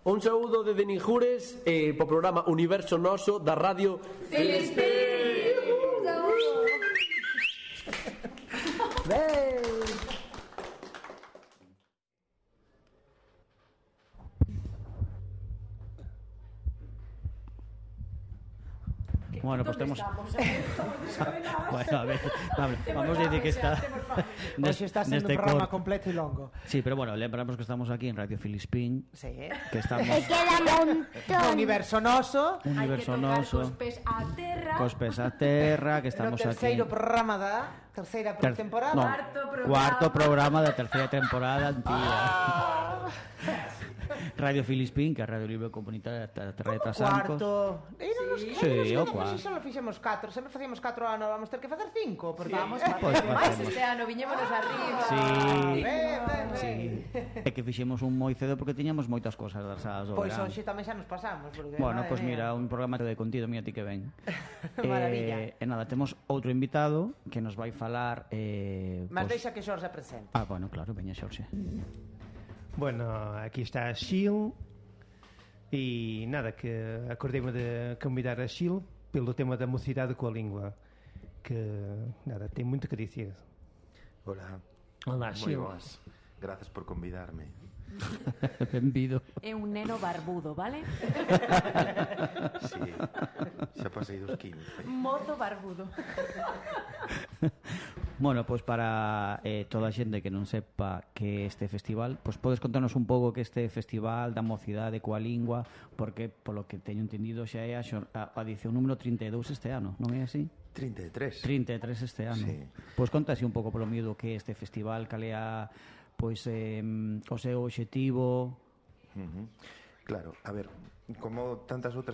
Un saúdo de Denijures po programa Universo Noso da Radio Filispín. Bueno, pues temos... Bueno, a ver, vamos a decir que está... Hoxe está sendo un programa completo e longo. Sí, pero bueno, lembramos que estamos aquí en Radio Filispín. Sí. Que estamos... E queda montón. Universo Noso. Universo Noso. Cos pés a terra, que estamos no aquí... terceiro programa da terceira temporada. No, cuarto programa da terceira temporada, tía. Radio Filispín, que é a Radio Libre Comunitaria da Terra de Trasancos. Cuarto. Sí, o cuarto. Só fixemos 4, sempre facíamos 4 anos, vamos ter que facer 5, porque Vamos a facer máis este ano, viñémonos arriba. Sí. É que fixemos un moi cedo porque tiñamos moitas cosas das do verán. Pois hoxe tamén xa nos pasamos, porque bueno, pois mira, un programa de contido, mira ti que ven. Maravilla. E nada, temos outro invitado que nos vai falar mas deixa que Xorxe presente. Ah, bueno, claro, veña Xorxe. Bueno, aquí está Xil e nada, que acordei-me de convidar a Xil pelo tema da mocidade coa língua, que nada, tem muito que dizer. Hola. Hola, Xil. Moi boas. Gracias por convidarme. Benvido. É un neno barbudo, vale? Sí, xa pasei dos 15. Mozo barbudo. Bueno, pois para toda a xente que non sepa que este festival, pois podes contarnos un pouco que este festival da mocidade coa lingua, porque polo que teño entendido xa é a edición número 32 este ano, non é así? 33. 33 este ano. Sí. Pois contase un pouco polo mío que este festival, cal é pois o seu obxectivo. Claro, a ver, como tantas outras